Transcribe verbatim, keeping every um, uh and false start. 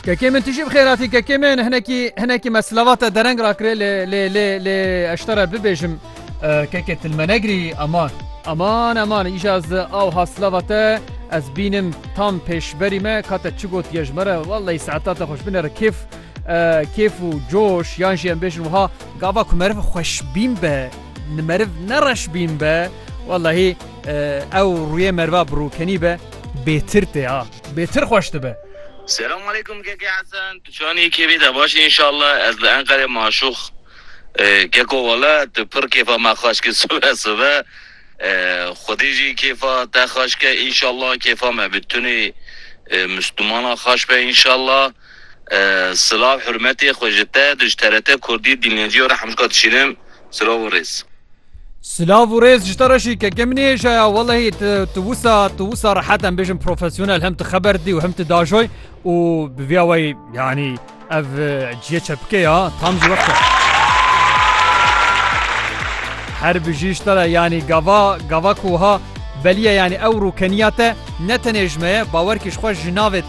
Kekê min, tu jî bi xêr hatî kekê min. Hinekî, hinekî me silava te dereng rakirê lê, lê, lê, lê ez ji te re bibêjim, e, kekê tu li me negirî, eman. Eman, eman, îja ez awha silava te ez bînim tam pêşberî me, ka te çi gotiye ji me re, wellahî saeta te xweş, binêre kêf, e, kêf û coş, yan jî em bêjin wiha, gava ku meriv xweşbîn be, meriv ne reşbîn be, wellahî, e, ew rûyê meriva bi rûkenî be, bêtir tê ha, bêtir xweş dibe. Selam aleykum keke Hesen. Tu çanî kêfî te baş inşallah. Ez li Enqerê maşûx. E, keko wele tu pir kêfa me xweş kir sibe sibe. E, Xwedê jî kêfa te xweş ke inşallah, kêfa me bi tunê, e, Müslümana xweş be inşallah. E, silav hurmetê xwe ji te, ji T R T Kurdî dinleyiciya re hemşka dişînim. Silav û rêz. Silav û rêz ji te re jî keke min ê jaya. Wellahî tu, tu wisa, tu wisa rehet em bêjin profesyonel, hem tu xeber dî û hem tu dajoy û bi vîya weyî, yanî ev, e, ciyê çepikê ya, tam jî wexta. Her bijî ji te re, yanî gava, gava ku wiha beliye, yanî ew rûkeniya te ne tenê ji me ye, bawer kî ji xwe ji navê